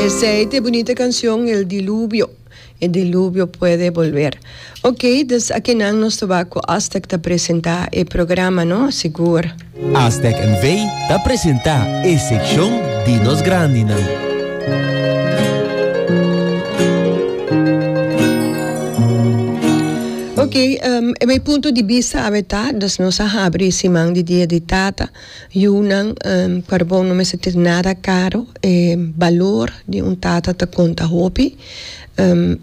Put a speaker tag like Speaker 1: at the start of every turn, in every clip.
Speaker 1: Esey ta e bunita cancion El Diluvio. El diluvio puede volver. Ok, dus akinan nos ta wak cu Aztec ta presenta e programa, no? Sigur.
Speaker 2: Aztec NV ta presenta e seccion di nos grandinan.
Speaker 1: Ok, e mi punto di bista awe ta, dus nos a habri siman di Dia di Tata. Yunan, karbon no mester tin nada karo, e balor di un tata ta konta hopi.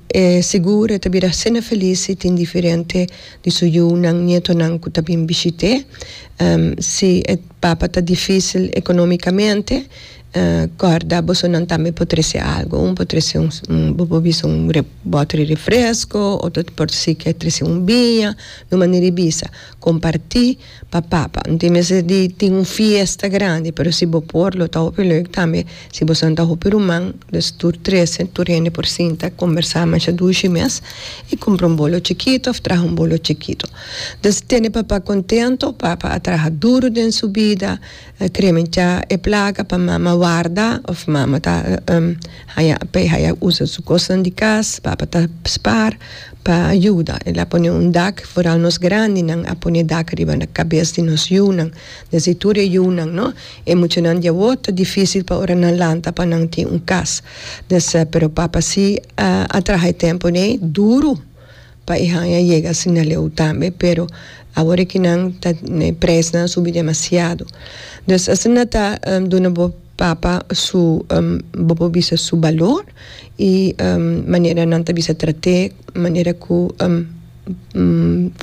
Speaker 1: E sigur e ta bira asina felis si tin diferente di su yunan, nietonan ku ta bin bishit'é. Si e papa ta difisil ekonomikamente, kòrda bosonan tambe por trese algu. Un por trese un, bo por bisa un bòter di refresko, otro por si ke trese un biña, di un manera di bisa kompartí. Pa papa. No tin mester di tin un fiesta grandi, pero si bo por lo ta hopi leuk tambe si boso ta hopi ruman, dus tur trese, tur hende por sinta kombersá masha dushi mes i kumpra un bolo chikito òf traha un bolo chikito. Dus tene papa kontento, papa a traha duru den su bida, kremenchá e plaka pa mama warda òf mama ta haña pa e haya usa su kosnan di kas, papa ta spar. Pa yuda. El a pone un dak, foral nos grandinan a pone dak riba na kabes di nos yunan. Desde tur e yunan, no? E muchanan di awor ta dificil pa ora nan lanta pa nan tin un kas. Des, pero papa si a traha e tempo nei duru pa e haña yega asina leu tambe, pero awor e kinan ta e prijsnan a subi demasiado. Dus asina ta duna bo papa su, bo por bisa su balor. I manera nan ta bisa trat'é manera ku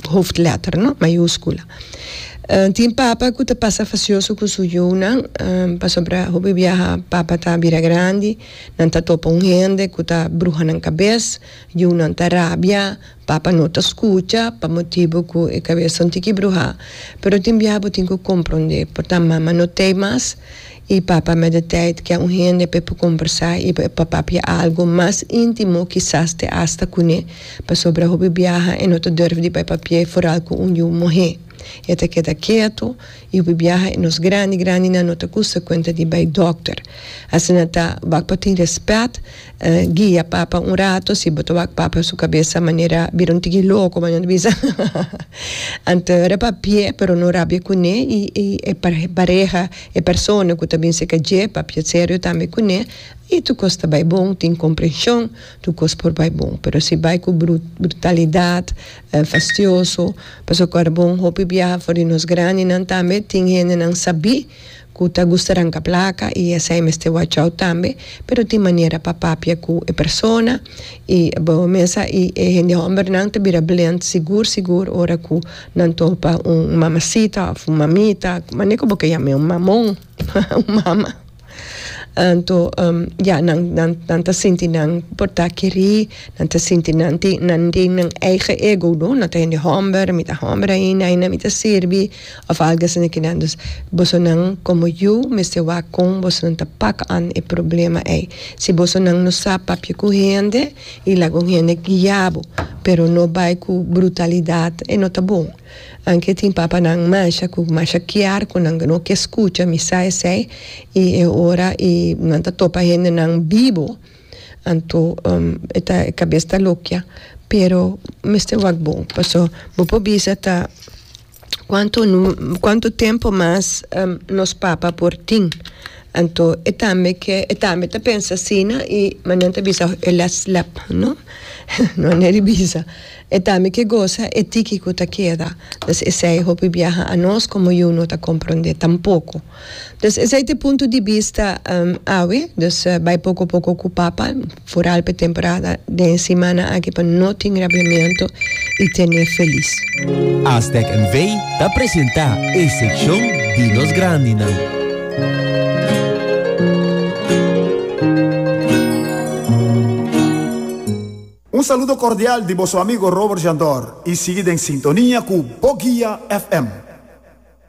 Speaker 1: hoofdletter no, mayúskula. Tin papa ku ta pasa fasioso ku su yunan pasobra hopi biaha papa ta bira grandi, nan ta topa un hende ku ta bruha nan kabes, yunan ta rabia, papa no ta skucha pa motibu ku e kabes ta un tiki bruhá. Pero tin biaha bo tin ku komprondé, por ta mama no t'ei mas. I papa met de tijd ke un hende p'e por kombersá i pa papia algo mas íntimo kisas te asta kuné, pasobra hopi biaha e no ta durf di bai papi'é foral ku un yu muhé. E ta keda ketu i hopi biaha e nos grandi grandinan no ta gusta kuenta di bai dòkter. Asina ta wak pa tin rèspèt. Guia papa un rato, si bo ta wak papa su cabeza manera bira un tiki loco, manera ta bisa anto ora papia pero no rabia cune y e pareha e persona cu ta bin cerca dje papia serio tambe cune y tur cos ta bay bon tin comprension tur cos por bay bon pero si bay cu brutalidad fastioso pasobra cu ora bon hopi biaha for di nos grandinan tambe tin hendenan sabi. Ku ta gusta ranka plaka i esei mester watch out tambe, pero tin manera pa papia ku e persona i bo mesa i e hende hòmbernan ta bira blind sigur sigur ora ku nan topa un mamasita òf un mamita, manera ku bo ke yam'é un mamon un mama. Anto ya nan nan nan ta sinti nan por ta kerí, nan ta sinti nan tin nan tin nan eigen ego no, nan ta hende hòmber, mi ta hòmber ainda, ainda mi ta sirbi. Of algo asina ki nan. Dus bosonan komo yu mester wak kon bosonan ta pak an e problema ei. Si bosonan no sa papia ku hende i laga un hende guia bo, pero no bai ku brutalidat e no ta bon. Anke tin papanan masha ku masha kiar ku nan no ke skucha mi sa esei i e ora i nan ta topa hendenan bibo anto e ta e kabes ta lokia pero mester wak bon paso bo por bisa ta. Cuanto cuanto tempo mas nos papa por tin? Anto e tambe ke e tambe ta pensa asina y manan ta bisa e la slap no no a neri bisa e tambe ke gosa e tiki ku ta keda dus esei hopi biaha anos komo yu no ta kompronde tampoko. Dus esei ta e punto di bista awe, dus bai poko poko ku papa, foral p'e temporada den e simana aki pa no tin rabiamentu i ten'é felis.
Speaker 2: Aztec NV ta presenta e seccion di nos grandinan.
Speaker 3: Un saludo cordial di boso amigo Robert Jandor y sigui den sintonia cu Bo Guia FM.